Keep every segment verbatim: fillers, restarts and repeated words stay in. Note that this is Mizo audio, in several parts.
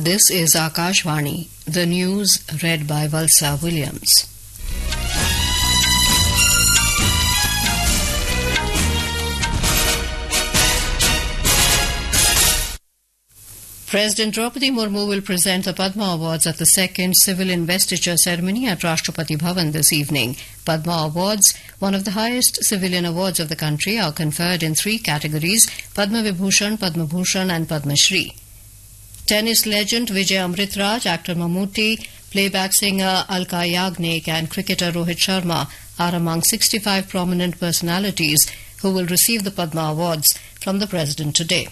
This is Akashvani, the news read by Valsa Williams. President Draupadi Murmu will present the Padma Awards at the second civil investiture ceremony at Rashtrapati Bhavan this evening. Padma Awards, one of the highest civilian awards of the country, are conferred in three categories Padma Vibhushan, Padma Bhushan, and Padma Shri. Tennis legend Vijay Amritraj, actor Mammootty, playback singer Alka Yagnik, and cricketer Rohit Sharma are among sixty-five prominent personalities who will receive the Padma Awards from the President today.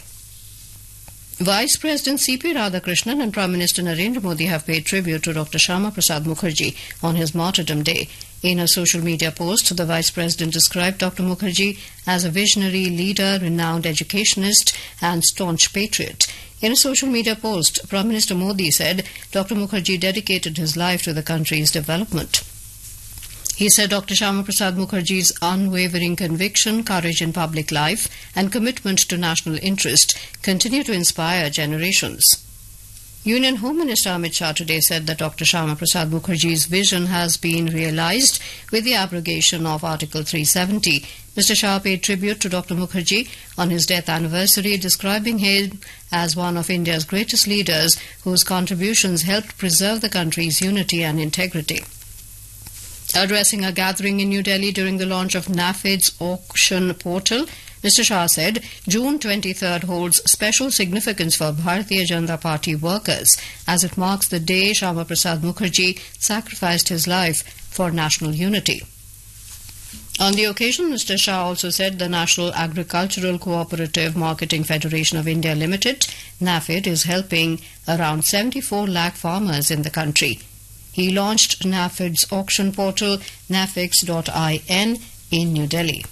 Vice President C P. Radhakrishnan and Prime Minister Narendra Modi have paid tribute to Doctor Shyama Prasad Mukherjee on his martyrdom day. In a social media post, the Vice President described Doctor Mukherjee as a visionary leader, renowned educationist and staunch patriot. In a social media post, Prime Minister Modi said Doctor Mukherjee dedicated his life to the country's development. He said Doctor Shyama Prasad Mukherjee's unwavering conviction, courage in public life and commitment to national interest continue to inspire generations. Union Home Minister Amit Shah today said that Doctor Shyama Prasad Mukherjee's vision has been realised with the abrogation of Article three seventy. Mister Shah paid tribute to Doctor Mukherjee on his death anniversary, describing him as one of India's greatest leaders whose contributions helped preserve the country's unity and integrity. Addressing a gathering in New Delhi during the launch of NAFED's auction portal, Mister Shah said June twenty-third holds special significance for Bharatiya Janata Party workers as it marks the day Shyama Prasad Mukherjee sacrificed his life for national unity. On the occasion, Mister Shah also said the National Agricultural Cooperative Marketing Federation of India Limited, NAFED, is helping around seventy-four lakh farmers in the country. He launched NAFED's auction portal, nafex dot in, in New Delhi.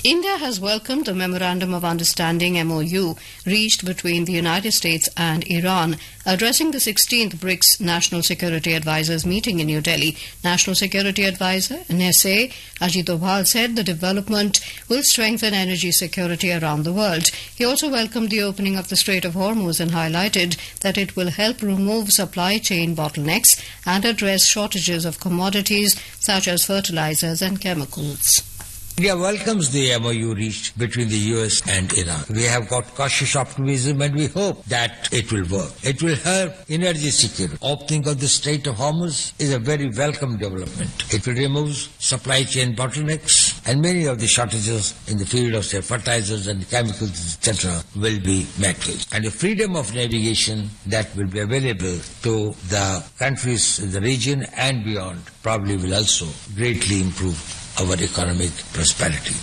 India has welcomed the Memorandum of Understanding M O U reached between the United States and Iran. Addressing the sixteenth BRICS National Security Advisors meeting in New Delhi, National Security Advisor N S A Ajit Doval said the development will strengthen energy security around the world. He also welcomed the opening of the Strait of Hormuz and highlighted that it will help remove supply chain bottlenecks and address shortages of commodities such as fertilizers and chemicals. India welcomes the M O U reached between the U S and Iran. We have got cautious optimism and we hope that it will work. It will help energy security. Opening of the Strait of Hormuz is a very welcome development. It will remove supply chain bottlenecks and many of the shortages in the field of, say, fertilizers and chemicals, et cetera will be met with. And the freedom of navigation that will be available to the countries in the region and beyond probably will also greatly improve our economic prosperity.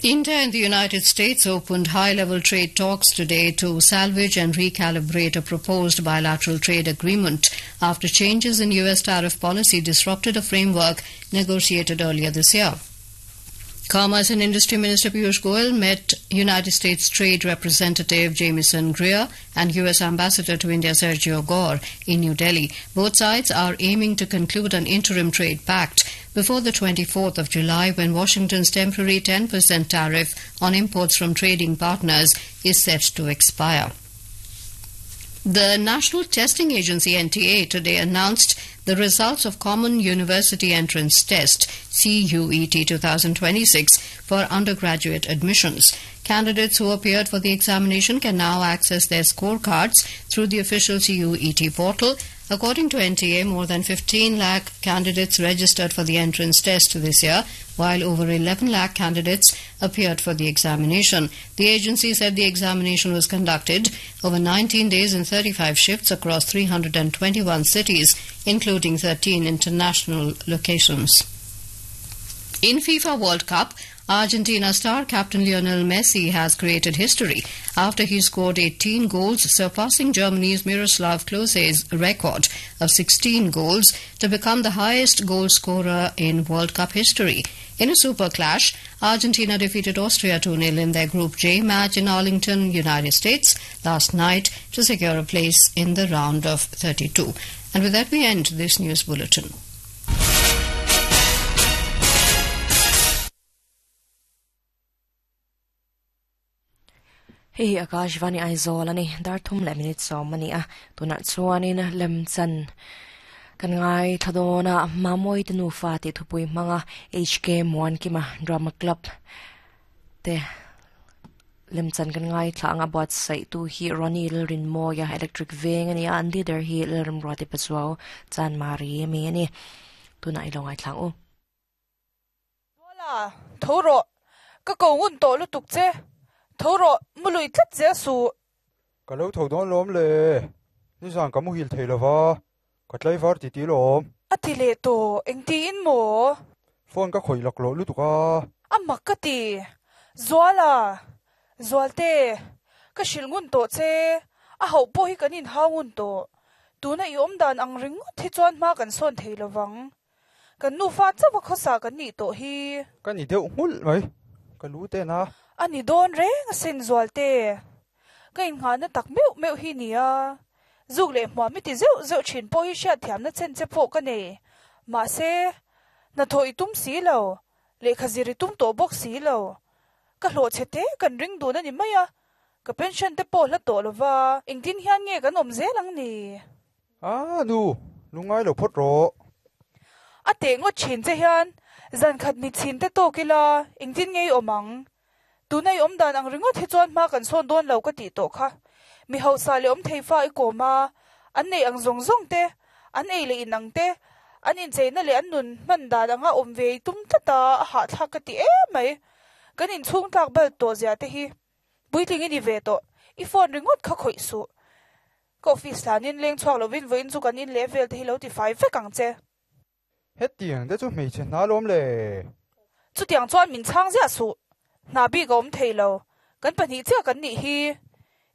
India and the United States opened high-level trade talks today to salvage and recalibrate a proposed bilateral trade agreement after changes in U S tariff policy disrupted a framework negotiated earlier this year. Commerce and Industry Minister Piyush Goyal met United States Trade Representative Jamieson Greer and U S Ambassador to India Sergio Gore in New Delhi. Both sides are aiming to conclude an interim trade pact before the twenty-fourth of July, when Washington's temporary ten percent tariff on imports from trading partners is set to expire. The National Testing Agency N T A today announced the results of Common University Entrance Test C U E T twenty twenty-six for undergraduate admissions. Candidates who appeared for the examination can now access their scorecards through the official C U E T portal. According to N T A, more than fifteen lakh candidates registered for the entrance test this year, while over eleven lakh candidates appeared for the examination. The agency said the examination was conducted over nineteen days in thirty-five shifts across three hundred twenty-one cities, including thirteen international locations. In FIFA World Cup, Argentina star captain Lionel Messi has created history after he scored eighteen goals, surpassing Germany's Miroslav Klose's record of sixteen goals to become the highest goal scorer in World Cup history. In a super clash, Argentina defeated Austria two nil in their Group J match in Arlington, United States, last night to secure a place in the round of thirty-two. And with that, we end this news bulletin. Hei Hei Akashvani Aizawl ani dar thum leh minute sawm ani a tunah chuanin lemchan kan ngai thladawna Mamawii te nufa tih thupui hmanga H K Muankima Drama Club te lemchan kan ngai thla anga buatsaih tu hi Ronnie Lalrinmawia Electric Veng ani a an leader hi Lalramruati Pachuau Chanmari ami ani tunah i lo ngai thlang u. Zuala, tho rawh, ka ko ngun tawh lutuk che. Tho rawh, mu lui tlat zel suh. Ka lo tho dawn lawm le, nizan ka muhil thei lova, ka tlaivar ti ti lawm. A ti leh tawh, engtiin maw? Phone ka khawih lak loh lutuk a. A mak ka ti. Zuala, Zualte, ka hrilh ngun tawh che, a hauh pawh hi kan inhau ngun tawh. Tuna i awm dan ang ringawt hi chuan hma kan sawn thei lovang. Kan nufa chauh a khawsa kan nih tawh hi. Ka ni deuh nghulh mai, ka lu ten a. A ni dawn reng asin Zualte. Ka innghahna tak meuh meuh hi nia. Zuk leh hmuam i ti zeuh zeuh thin pawh hi hriatthiamna chen che pawh ka nei. Mahse, hnathawh i tum si lo, lehkha zir i tum tawh bawk si lo. Ka hlawh chhe te kan ring dun a ni mai a, ka pension te pawh hla tawh lova, engtin hian nge kan awm zel ang ni? A nu, lungngai lo phawt rawh. A teh ngawt thin che hian zan khat ni chhin te tawk ila, engtin nge i awm ang? Tuna i awm dan ang ringawt hi chuan hma kan sawn dawn lo ka tih tawh kha. Mi hausa leh awm thei fa i kawm a, an neih ang zawng zawng te, an ei leh in ang te, an incheina leh an nun hman dan anga awm ve i tum tlat a, a hahthlak ka ti em mai. Kan inchhung tlak bal tawh zia te hi puitling i ni ve tawh, i phone ringawt kha khawih suh. Ka office hlanin leng chhuak lovin vawiin chu kan in leh vel te hi lo ti fai vek ang che. Hetiang te chu hmeichhe hna lawm le. Chutiang chuan min chhang ziah suh. Hna bik a awm thei lo. Kan pahnih chiah kan nih hi.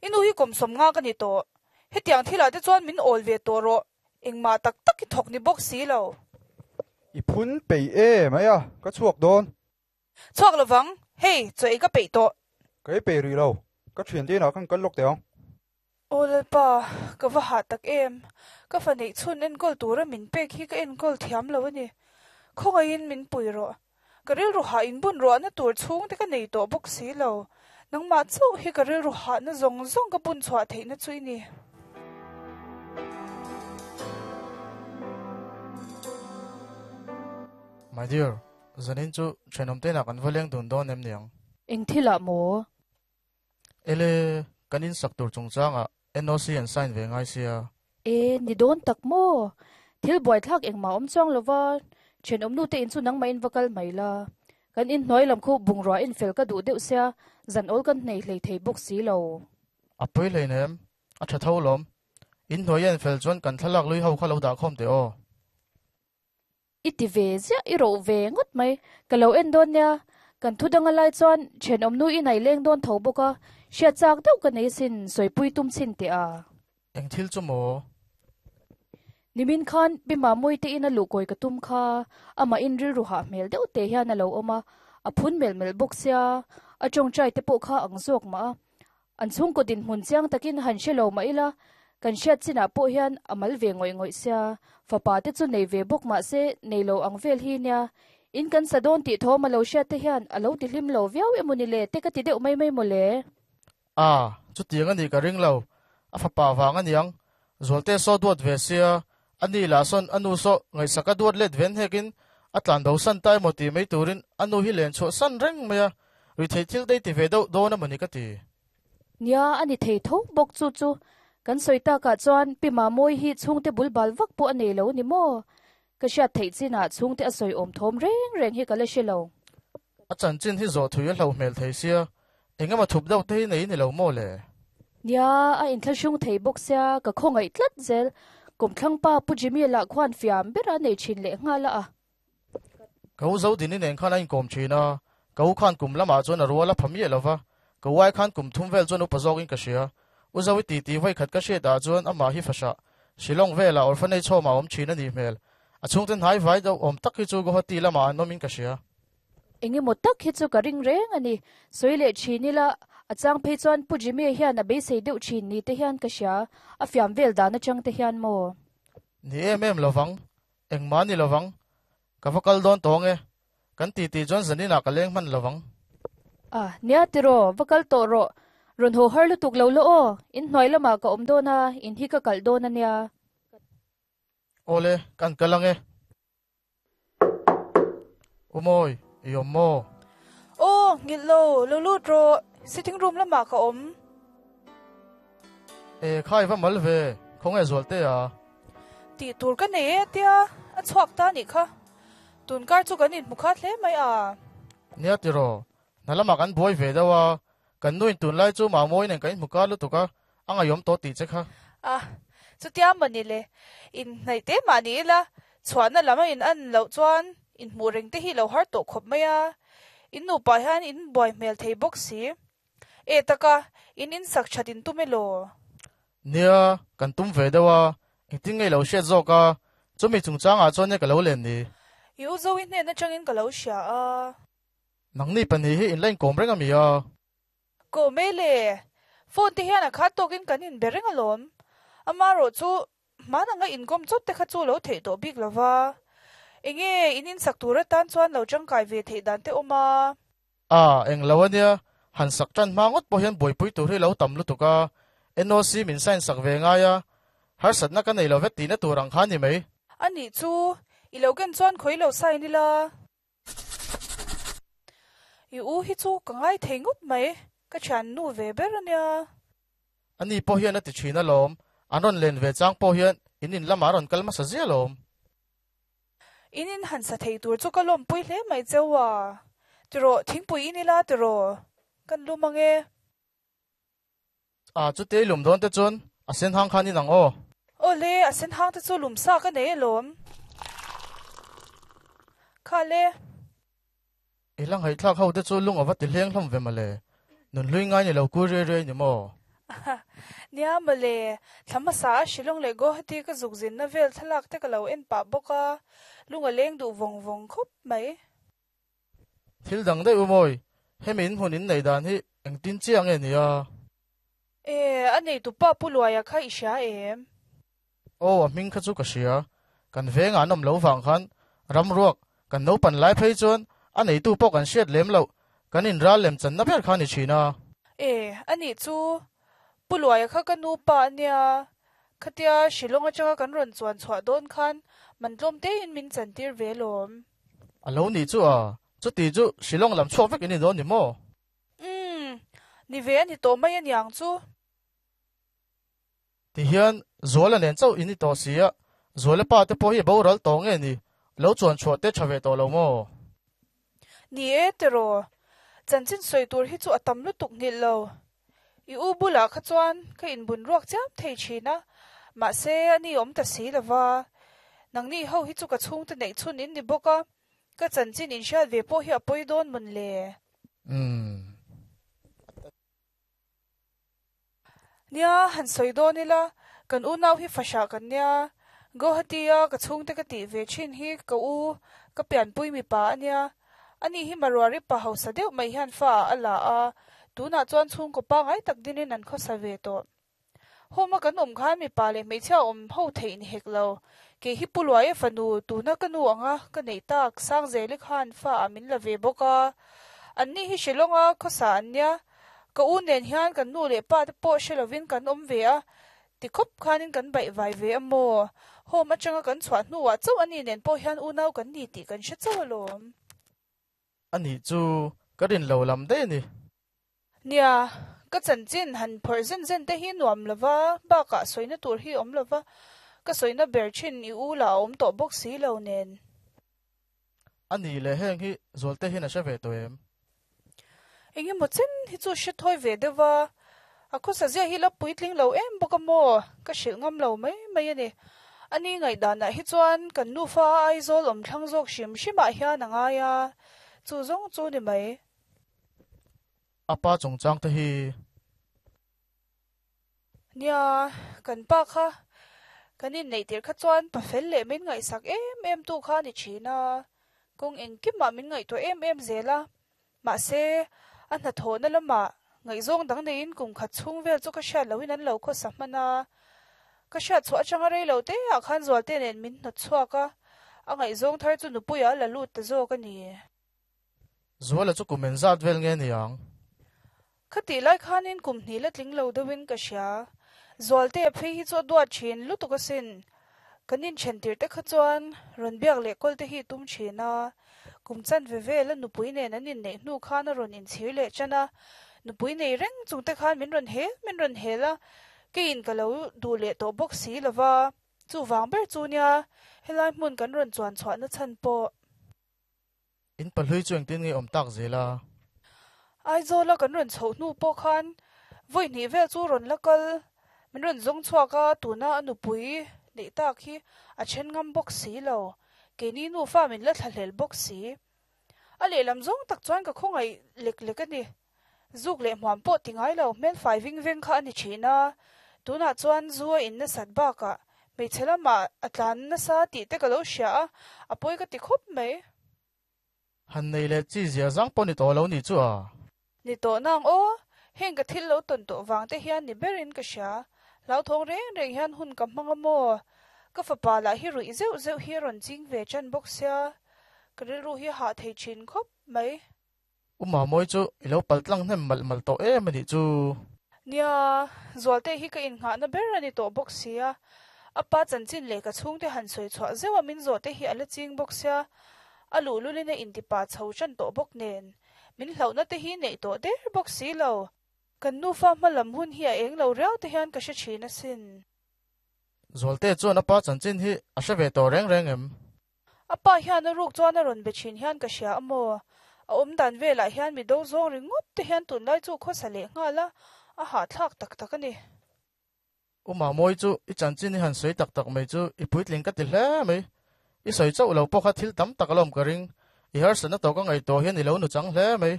I nu hi kawmsawm nga ka ni tawh. Hetiang thilah te chuan min awl ve tawh rawh. Engmah tak tak i thawk ni bawk si lo. I phun peih em mai a, ka chhuak dawn. Chhuak lovang, hei, chaw ei ka peih tawh. Ka ei peih rih lo, ka thiante inah khan kal lawk teh ang. Aw Lalpa, ka va hah tak em? Ka fa neih chhun enkawl tura min pek hi ka enkawl thiam lo a ni. Khawngaihin min pui rawh. Ka rilru hah inbun ruahna tur chhungte ka nei tawh bawk si lo. Nangmah chauh hi ka rilru hahna zawng zawng ka bun chhuah theihna chu i ni. My dear, zanin chu thenawm te inah kan va leng dun dawn em niang? Eng thilah maw? Ele, kan insak tur chungchangah N O C an sign ve ngai sia. E, ni dawn tak maw? Thil buaithlak engmah awm chuang lova, thenawm nu te in chu nangmah in va kal mai la. Kan inhnuai lam khu bungrua infel ka duh deuh sia, zan awl kan hnei hlei thei bawk si lo. A pawi hlei nem, a tha tho lawm. Inhnuai a infel chuan kan thlalak lui ho kha lo dah khawm teh aw. I ti ve ziah, i roh ve ngawt mai. Ka lo en dawn nia, kan thu danga lai chuan thenawm nu i nei leng dawn tho bawk a, hriat chak deuh ka nei sin, sawipui tum chhin teh a. Eng thil chu maw? Nimin khan Pi Mamawii te in a luhkawi ka tum kha, amah in rilru hah hmel deuh teh hian a lo awm a, a phun melh melh bawk sia, a tawngtai te pawh kha ang zawk mah a. An chhungkaw dinhmun chiang takin han hre lo mah ila, kan hriat chinah pawh hian a mal ve ngawih ngawih sia, fapa te chu nei ve bawk mah se nei lo ang vel hi nia, in kan sa dawn tih thawm a lo hriat te hian a lo ti hlim lo viau emaw ni le te ka ti deuh mai mai maw le. A, chutiang a nih ka ring lo, a fapa vang a niang, Zualte saw duat ve sia, a ni lah sawn a nu saw ngaihsak a duat let ven hekin a tlan bo san ta emaw tih mai turin a nu hi len chhuah san reng mai a, rithei thil te ti ve deuh dawn emaw ni ka ti. Nia, a ni thei tho bawk chu chu kan sawi takah chuan Pi Mamawii hi chhungte bul bal vak pawh a nei lo ni maw? Ka hriat theih chinah chhungte a sawi awm thawm reng reng hi ka la hre lo. A chanchin hi zawh thui a hlo hmel thei sia, engemaw thup deuh te hi nei ni lo maw le? Nia, a inthlahrung thei bawk sia, ka khawngaih tlat zel. Kawmthlangpa Pu Jimmy lah khuan fiam bera nei thin leh nghal a. Ka u Zodini nen khan a inkawm thin a, ka u khan kum lamah chuan a rual a pha miah lo va, ka uai khan kum thum vel chuan upa zawkin ka hria. U Zoe titi vawi khat ka hriat ah chuan amah hi fahhrah, Shillong velah orphanage home ah awm thin a nih hmel. A chhungte hnai vai deuh awm tak hi chu Guwahati lamah an awmin ka hria. Engemaw tak hi chu ka ring reng a ni. Sawi leh thin ila, a chang phei chuan Pu Jimmy hian a beisei deuh thin ni te hian ka hria, a fiam vel dan atang te hian maw? Ni em em lovang, engmah ni lovang, ka va kal dawn tawng e, kan titi chuan zaninah ka leng hman lovang. A, nia tiraw, va kal tawh rawh, Ron ho har lutuk lo lo o in hnoi lama ka om dona in hi ka kal dona nia. Ole kan kalange. Umoi yommo. O ngil lo lo lu ro sitting room lama ka om. E khai va mal ve khong e zol te a. Ti tur ka nei atia a chuak ta ni kha. Tun kar chu kan in mukha hle mai a. Nia ti ro nalama kan boi ve dawa kan nuin tun lai chu ma moi nen kan muka lu tuka anga yom to ti che kha. A chu tia mani le in nei te ma ni la chuana lama in an lo chuan in mu reng te hi lo har to khop mai a. In nu pa hian in boi mel thei bok si. E taka in in sak chatin tumelo. Nia kan tum ve dawa in tin ngei lo she zo ka chu mi chung chang a chuan ne ka lo len ni. Yu zo in ne na changin ka lo sha a. Nang ni pan hi hi in line kom reng ami a. Ko mele phone te hian a kha tokin kan in bereng alom. Ama ro chu mana nga in kom chot te kha chu lo thei to bik lova. Enge in in sak tura tan chuan lo changkai ve thei dan te oma. A eng lawania han sak tan mangot po hian boi pui tur hi lo tam lu tuka N O C min sign sak ve nga ya har sat na ka nei lo vet ti na turang khan ni mai. Ani chu i lo gen chuan khoi lo sai ni la. I u hi chu ka ngai thei ngut mai ka chan nu ve ber ania. Ani po hian ati thina lom anon len ve chang po hian in in lama ron kalma sa zia lom. In in han sa thei tur chu ka lom pui hle mai chewa. Tiro thingpui inila tiro kan lu mange. A chu te lum don te chun a sen hang khan ni nang o. Ole a sen hang te chu lum sa ka nei lom. Kha le. Ilang hai thlak ho te chu lung awa ti hleng hlom ve male. Nun lui ngai ni lo ku re re ni mo. Nia male thlama sa shilong le go hati ka zukzin na vel thlak te ka lo en pa boka lunga leng du vong vong khop mai. Thil dang dai umoi hemin hunin nei dan hi eng tin chiang e nia. E anei tu pa puluaya kha isha em. O a ming kha chu ka sia kan venga nom lo wang khan ram ruak kan no pan lai phei chon anei tu pok an shet lem lo kan in ra lem chan na ber khan ni china. E ani chu puluaya kha ka nu pa ania khatia shilonga changa kan ron chuan chhuah don khan mantlom te in min chan tir ve lom. Alo ni chu a chu ti chu shilong lam chuak vek ini don ni mo. Um ni ve ani to mai aniang chu. Ti hian zola nen chau ini to sia zola pa te po hi bo ral to nge ni lo chuan chhuah te thave to lo mo. Ni e tero chanchin soi tur hi chu atam lu tuk ngil lo. I u bula kha chuan ka in bun ruak cham thei thina ma se ani om ta si lova. Nangni ho hi chu ka chung te nei chun in ni boka ka chanchin in sha ve po hi apoi don mun le. Um nia han soi don ila kan u nau hi fasha kan nia Guwahatia ka chung te ka ti ve chin hi ka u ka pian pui mi pa ania ani hi marwari pa hausa deuh mai hian fa ala a tuna chuan chung ko pa ngai tak dinin an kho sa ve to homa kan om khan mi pa le hmeichhia om ho thei ni hek lo ke hi puluai fanu tuna ka nu anga ka nei tak sang zeli khan fa amin la ve boka anni hi shilonga kho sa ania ka u nen hian kan nu le pa te po shelovin kan om ve a ti khop khanin kan bai vai ve amo home atanga kan chhuah hnuah chauh ani nen pawh hian u nau kan ni tih kan hre chauh alawm. Ani chu ka rin lo lam dei ni. Nia ka chanchin han phawrh zen zen te hi nuam lova bakah sawina tur hi awm lova ka sawina ber thin i u la awm tawh bawk si lo nen. Ani le heng hi zawl te hin a hre ve tawh em. Engemaw chen hi chu hre thawi ve deuha a khaw sa zia hi la puitling lo em bawk a maw ka hrilh ngam lo mai mai ani. Ani ngai danah hi chuan kan nu fa Aizawl awm thlang zawk hrim hrimah hian a ngai a chu zawng chu ni mai. Apa chung chang te hi. Nia kan pa kha kan in nei tir kha chuan pa fel leh min ngai sak em em tu kha ni thina kawng engkimah min ngai tawh em em zela ma se a hna thaw na lama ngai zawng dang neiin kum khat chhung vel chu ka hriat loin an lo khaw sa hman a ka hriat chhuah atanga rei lo te ah khan zual te nen min hnawt chhuak a a ngai zawng thar chu nupuia la lut ta zawk ani. Zuala chu kumen zat vel nge ni ang. Khati lai khanin kum hnih la tling lo deuhin ka hria. Zualte a phei hi chu a duat thin lutuk asin. Kan inthen tir te kha chuan rawn biak leh kawl te hi tum thin a. Kum chan ve vel a nupui nen an inneih hnu khan a rawn inchhir leh tan a. Nupui nei reng chung te khan min rawn hel min rawn hel a. Keiin ka lo duh leh tawh bawk si lova. Chuvang ber chu nia helai hmun kan rawn chuan chhuahna chhan pawh. In pahlui chu engtin nge awm tak zel a. Aizawl a kan rawn chhoh hnu pawh khan vawi hnih vel chu rawn la kal. Min rawn zawng chhuak a, tuna a nupui neih tak hi a then ngam bawk si lo. Keini nufa min la thlahlel bawk si. A lehlam zawng tak chuan ka khawngaih lek lek a ni. Zuk leh hmuam pawh ti ngai lo, hmelfai ving veng kha a ni thin a. Tunah chuan zu a in nasat bakah hmeichhe lamah a tlan nasa tih te ka lo hria a, a pawi ka ti khawp mai. Han nei leh chi zia zang pawh ni tawh lo ni chu a. Ni tawh nang aw, heng ka thil lo tawn tawh vang te hian ni berin ka hria. Hlauthawng reng reng hian hun ka hmang a maw? Ka fapa lah hi ruih zeuh zeuh hi a rawn ching ve tan bawk sia, ka rilru hi a hah thei thin khawp mai. U Mamawi chu i lo pal tlang hnem malh malh tawh em a nih chu. Nia, Zualte hi ka innghahna ber a ni tawh bawk sia. A pa chanchin leh ka chhungte han sawi chhuah zeuh a min zawh te hi a la ching bawk sia. A luhlulin a intipa chho tan tawh bawk nen. Min hlauhna te hi neih tawh der bawk si lo. Kan nufa hma lam hun hi a eng lo riau te hian ka hre thin asin. Zualte chuan a pa chanchin hi a hre ve tawh reng reng em? A pa hian a ruk chuan a rawn be thin hian ka hria a maw? A awm dan velah hian mi do zawng ringawt te hian tunlai chu khawsa leh nghal a, a hahthlak tak tak a ni. U Mamawi chu i chanchin i han sawi tak tak mai chu i puitling ka ti hle mai. I sawi chauh lo pawh kha thil tam tak alawm ka ring. I harsatna tawh ka ngaihtuah hian i lo nu chang hle mai.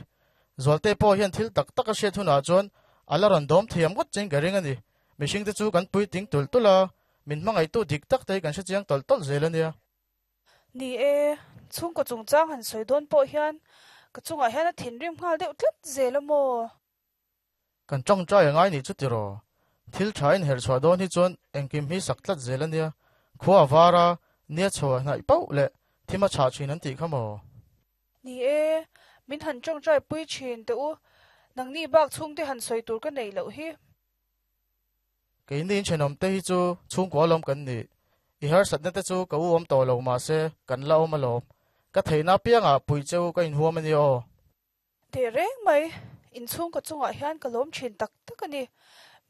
Zualte pawh hian thil tak tak a hriat hunah chuan a la rawn dawm thiam ngawt chiang ka ring a ni. Mihring te chu kan puitling tulh tulh a, min hmangaihtu dik tak te hi kan hre chiang tawlh tawlh zel a nia. Ni e, chhungkaw chungchang han sawi dawn pawh hian ka chungah hian a thinrim nghal deuh tlat zel a maw? Kan tawngtai a ngai nih chu tiraw? Thil tha inherh chhuah dawn hi chuan engkim hi sak tlat zel a nia. Khua a var a, nia chho a hnaih pauh leh thim a chhah thin an tih kha maw? Ni e, min han tawngtai pui thin teh u, nangni bak chhungte han sawi tur ka neih loh hi. Keini inthenawm te hi chu chhungkua lawm kan ni. I harsatna te chu ka u awm tawh lo mahse kan la awm alawm. Ka theihna apiangah pui cheu ka inhuam a ni aw. Teh reng mai, inchhungkaw chungah hian ka lawm thin tak tak a ni.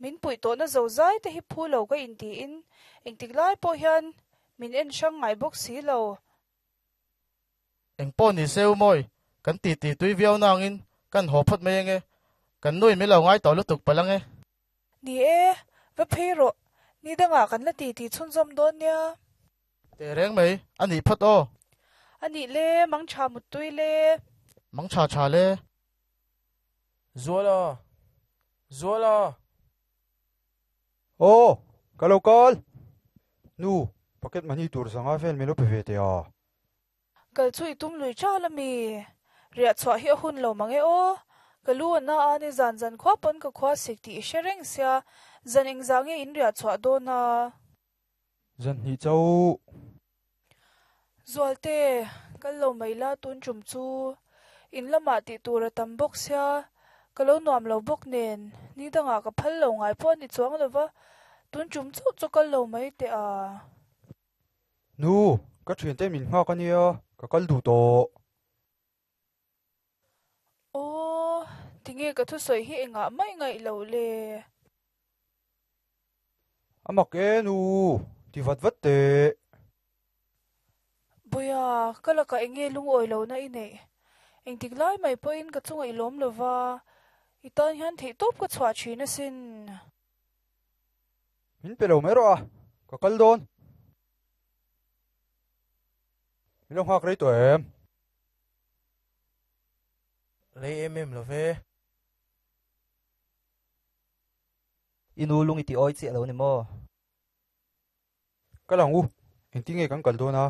Min puih tawhna zozai te hi phu lo ka intiin engtik lai pawh hian min en hrang ngai bawk si lo. Eng pawh ni se u Mawi, kan titi tui viau nangin kan haw phawt mai ange. Kan nui mi lo ngai tawh lutuk palh ange. Ni e, va phei rawh. Ni dangah kan la titi chhunzawm dawn nia. Teh reng mai, a nih phawt aw. A nih le, mang tha muttui le. Mang tha tha le. Zuala! Zuala! Aw, ka lo kal! Nu, pocket money tur zanga vel min lo pe ve teh a. Kal chu i tum lui chal a mi? Riah chhuah hi a hun lo mang e aw. Ka lu a na a ni zan zan khua pawn ka khua sik tih i hre reng sia, zan engzah nge in riah chhuah dawn a? Zan hnih chauh. Zualte, kal lo mai la tun tum chu. In lamah tih tur a tam bawk sia, ka lo nuam lo bawk nen, ni dangah ka phal lo ngai pawh a ni chuang lo va, tun tum chauh chu kal lo mai teh a. Nu, ka thiante min nghak a nia, ka kal duh tawh. Aw, tinge ka thusawi hi engah mai ngaih loh le? A mak e nu, ti vat vat teh. Buia, ka lakah enge lungawi lohna i neih? Engtik lai mai pawhin ka chunga i lawm lova, i tan hian theihtawp ka chhuah thin asin. Min pe lo mai rawh a, ka kal dawn. Min lo nghak rei tawh em? Rei em em lo ve. I nu lung i ti awi chiah lo ni maw? Kal ang u, engtin nge kan kal dawn a?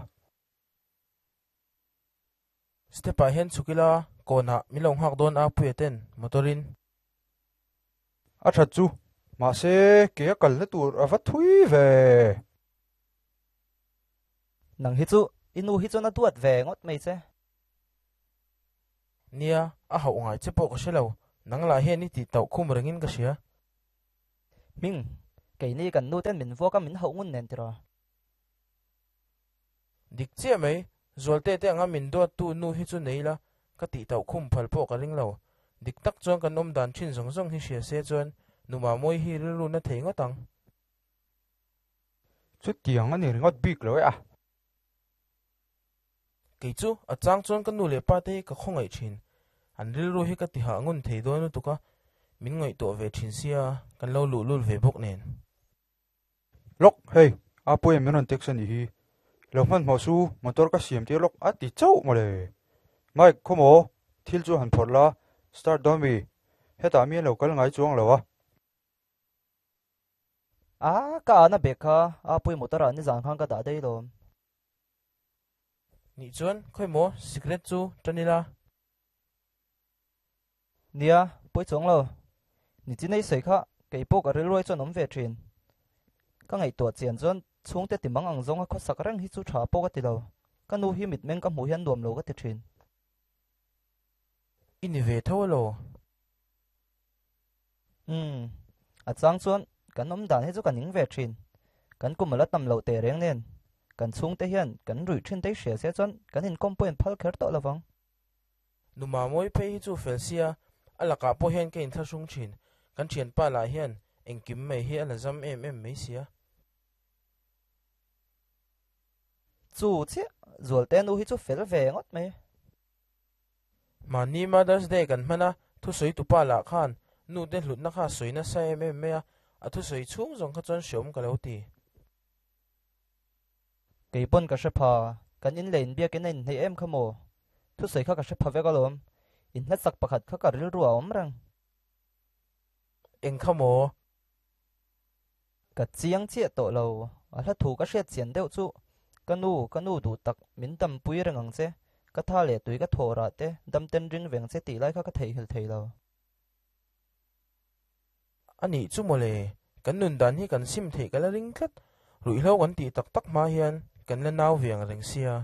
Step ah hian chhuk ila, kawnah min lo nghak dawn a Puia ten motor in. A that chu, mahse ke a kalna tur a va thui ve. Nang hi chu i nu hi chuan a duat ve ngawt mai che. Nia, a hauh ngai che pawh ka hre lo. Nang la hian i ti tauh khum rengin ka hria. Ming, kei ni kan nu ten min vuak a min hauh ngun nen tiraw. Dik chiah mai, Zualte te anga min duat tu nu hi chu nei la, ka tih tauh khum phal pawh ka ring lo. Dik tak chuan kan awm dan thin zawng zawng hi hria se chuan nu Mamawii hi rilru na thei ngawt ang. Chutiang a ni ringawt bik lo e a. Kei chu a chang chuan ka nu leh pa te hi ka khawngaih thin. An rilru hi ka ti hah ngun thei dawn lutuk a, min ngaihtuah ve thin sia, kan lo luh lul ve bawk nen. Lawk, hei, a pawi min rawn text a nih hi. Lo hmanhmawh su, motor ka siam tir lawk a ti chauh mawle. Mike, khawmaw, thil chu han phawrh la, start dawn mi? Hetah mi an lo kal ngai chuang lo a. A, ka an a bag kha, a pawi motor ah nizan khan ka dah daih lawm. Nih chuan, khawimaw, cigarette chu tan ila. Nia, pawi chuang lo. Ni chi nei sawi kha, kei pawh ka rilruai chuan awm ve thin. Ka ngaihtuah chian chuan chhungte ti mang ang zawnga khawsak reng hi chu tha pawh ka ti lo. Ka nu hi mitmeng ka hmuh hian nuam lo ka ti thin. I ni ve tho alo? Umm, a chang chuan kan awm dan hi chu ka ning ve thin. Kan kum ala tam loh teh reng nen, kan chhungte hian kan ruih thin te hria se chuan kan inkawm pawh in phal kher tawh lovang. Nu Mamawii phei hi chu fel sia, a lakah pawh hian ka inthlahrung thin. Kan thianpa lah hian engkim mai hi a la zam em em mai sia. Chu chiah, Zualte nu hi chu fel ve ngawt mai. Mahni Mother's Day kan hman a, thusawi tupa lah khan nu te hlutna kha a sawi nasa em em mai a, a thusawi chhung zawng kha chuan hreawm ka lo ti. Kei pawn ka hre pha, kan in leh inbiakin a inhneih em kha maw? Thusawi kha ka hre pha vek alawm, inhlatsak pakhat kha ka rilru a awm reng. Eng kha maw? Ka chiang chiah tawh lo, a hla thu ka hriat chian deuh chu, Ka nu, ka nu duh tak, min dampui reng ang che, ka tha leh tui ka thawh rah te, dam ten ring veng che tih lai kha ka theihnghilh thei lo. A nih chu mawle, kan nun dan hi kan sim theih ka la ring tlat, ruihhlo kan tih tak tak hma hian kan la nau ve ang reng sia.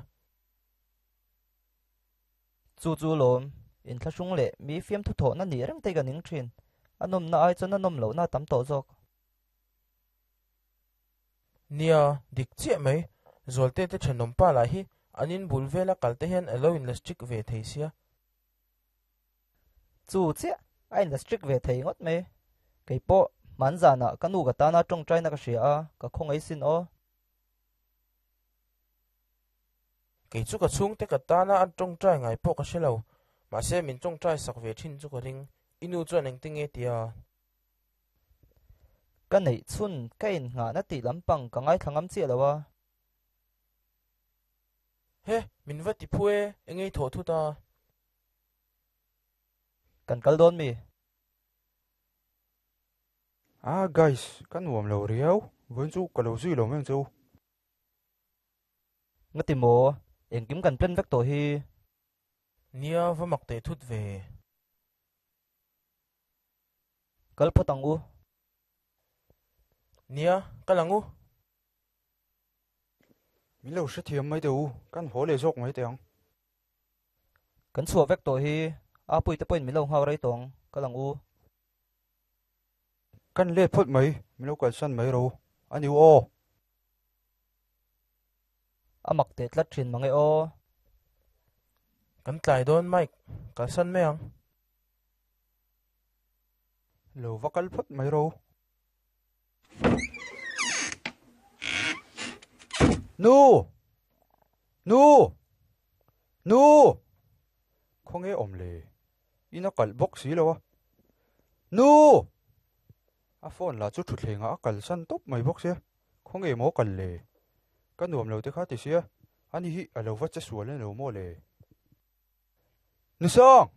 Chu chu lawm, inthlahrung leh mi fiamthu thawhna nih reng te ka ning thin, a nawmna ai chuan a nawm lohna a tam tawh zawk. Nia, dik chiah mai, Zualte te thenawm pa lah hi an in bul vela kal te hian a lo in la strict ve thei sia. Chu chiah, a in la strict ve thei ngawt mai. Kei pawh hman zanah ka nu ka tana tawngtaina ka hria a, ka khawngaih sin aw. Kei chu ka chhungte ka tana an tawngtai ngai pawh ka hre lo, mahse min tawngtai sak ve thin chu ka ring. I nu chuan engti nge tia? Ka neih chhun ka innghahna tih lampang ka ngaithla ngam chiah lo a. He, min va ti phu e, engei thawh thut a. Kan kal dawn mi? Ah guys, ka nuam lo riau, vawiin chu ka lo zui lo mai ang che u. Ngati maw, engkim kan plan vek tawh hi. Nia, va mak teh thut ve. Kal phawt ang u. Nia, kal ang u. Min lo hrethiam mai teh u, kan haw leh zawk mai teh ang. Kan chhuah vek tawh hi, a puite pawhin min lo nghak rei tawh ang, kal ang u. Kan let phawt mai, min lo kalsan mai ro, a ni u aw. A mak teh tlat thin mang e aw. Kan tlai dawn Mike, kalsan mai ang. Lo va kal phawt mai ro. Nu! Nu! Nu! Khawnge awm le? In a kalh bawk si lo a. Nu! A phone lah chu thutthlengah a kalsan tawp mai bawk sia. Khawnge maw kal le? Ka nuam lo te kha ti sia, ani hi a lo va che sual en lo maw le? Nusang!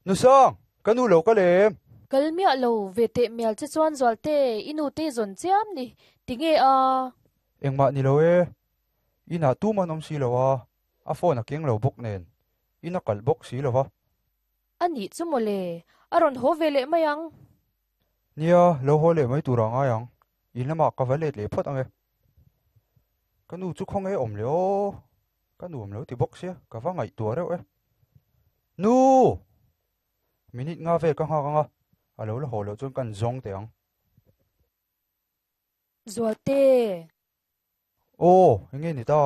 Nusang! Ka nu lo ka lem! Kal miah lo ve teh mial che chuan Zualte, i nu te zawn chiam ni, tinge a? Engmah ni lo e, inah tum an awm si lo a, a phone a keng lo bawk nen, in a kalh bawk si lo va. A nih chu maw le, a rawn haw ve leh mai ang. Nia, lo haw leh mai tur a ngai ang, in lamah ka va let leh phawt ang e. Ka nu chu khawnge awm leh aw, ka nuam lo ti bawk sia, ka va ngaihtuah reuh e. Nu! Minute nga vel ka nga nga. Alo la ho lo chuan kan zong te ang. Zualte. Oh, nge ni ta.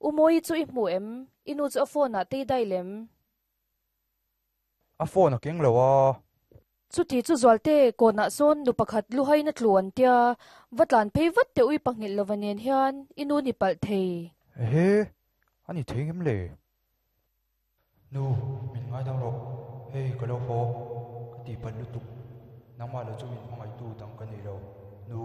Umoi chu i mu em, inu chu a phone a te dai lem. A phone a keng lo a. Chu ti chu zualte ko na son nu pakhat lu hai na tluan tia, vatlan phei vat te ui pangil lovanen hian inu ni pal thei. He, ani thei ngem le. Nu, min ngai dam ro. Hei ka lo ho. Ka ti pan lu tuk. Nangma lo chu min hmangai tu dang ka nei lo. Nu.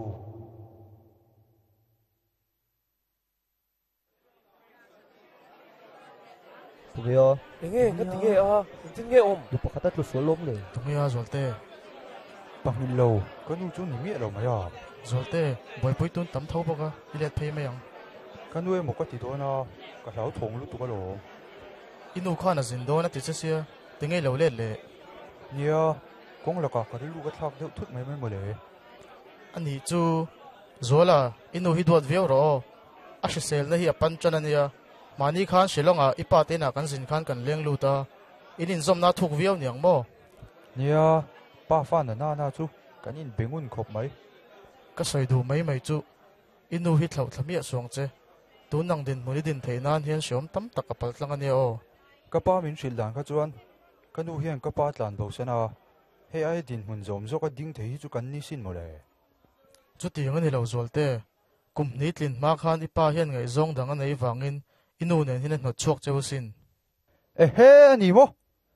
Tugeo. Enge, nga tinge a, tin nge om. Du pakhata tlu solom le. Tugeo zolte. Pangil lo, ka nu chu ni mi lo maya. Zolte, boy pui tun tam tho boka, ilet phei mai ang. Ka nu e mo ka ti do na, ka hlau thong lu tu ka lo. Inu khan a zin do na ti che sia, tinge lo le le. Nia, kong la ka ka ri lu ka thlak deuh thut mai mai mo le. Ani chu zola, inu hi duat viau ro. A hrisel na hi a pan chan ania. Mani khan Shillonga ipa te na kan zin khan kan leng luta. Inin zom na thuk viau niang mo. Nia, pa fa na na na chu kan in bengun khop mai. Ka soi du mai mai chu. Inu hi thlau thlami a suang che. Tu nang din muni din thei nan hian siom tam tak ka pal tlang ania o. Ka pa min hril dan kha chuan ka nu hian ka pa tlan bo sana. Hei ai din hmun zom zo ka ding thei hi chu kan ni sin mo le. Chu ti ngani lo zualte. Kum ni tlin ma khan ipa hian ngai zong dang anei wangin inu nen hin hnot chuak cheu sin. E he ani mo.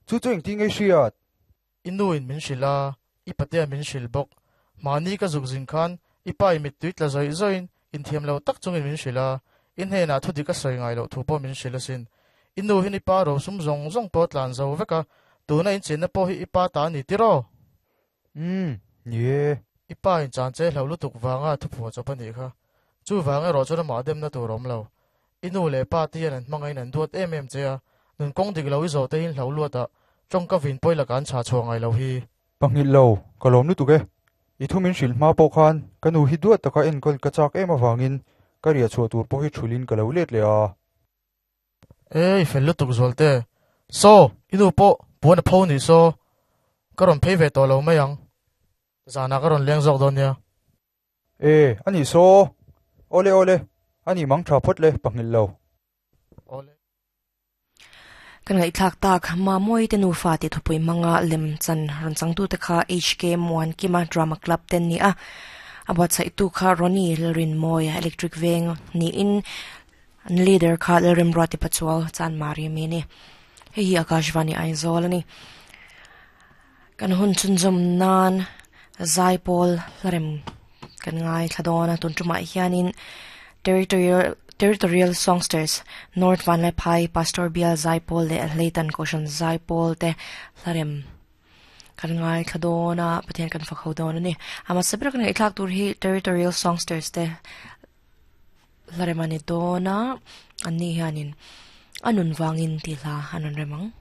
Chu chu ing ti ngai hriat. Inu in min hrila, ipatea min hril bawk. Mani ka zuk zin khan ipa i mit tuit la zoi zoin in thiam lo tak chungin min hrila. In he na thu dik a soi ngai lo thu pawh min hrila sin. Inu hin ipa ro sum zong zong pawh tlan zo veka. Tuna in chen na pawh hi ipa ta ni tiro. Um, nie. Ipa in chan che hlo lutuk wanga thu phuwa chawp ani kha. Chu wanga ro chuan ma dem na tur awm lo. Inu le pa ti an hmangai nan duat em em che a. Nun kong dik lo i zo te hin hlo luat a. Tong ka vin poi la kan cha chuangai lo hi. Pangil lo, ka lom lutuk e. I thu min hril hma pawh khan ka nu hi duat taka enkawl ka chak em awangin ka ria chhuah tur pawh hi thulin ka lo let le a. Ei, fel lutuk zualte. So, inu pawh puan a pho ni so. Ka rawn phei ve tawh lo mai ang. Zana ka rawn leng zawk dawn nia. E, ani so. Ole ole, ani mang tha phot le pangil lo. Ole. Kan ngai thlak tak ma moi te nu fa ti thupui manga lem chan ron changtu te kha H K Muan Kima Drama Club ten ni a. Abot sai tu kha Roni Lalrin Moya Electric Veng ni in leader kha Lalrim Rati Pachual chan mari mi ni. Hei hi Akashvani Aizawl ani. Kan hun chunzom nan Zaipol Larem kan ngai thladona tun tuma hianin Territorial Territorial Songsters North Vanlai Phai Pastor Bial Zaipol le Leitan Koshan Zaipol te Larem kan ngai thladona pathian kan fakho don ani. Ama sabra kan ngai thlak tur hi Territorial Songsters te Larem ani dona ani hianin anun wangin ti hla anun remang.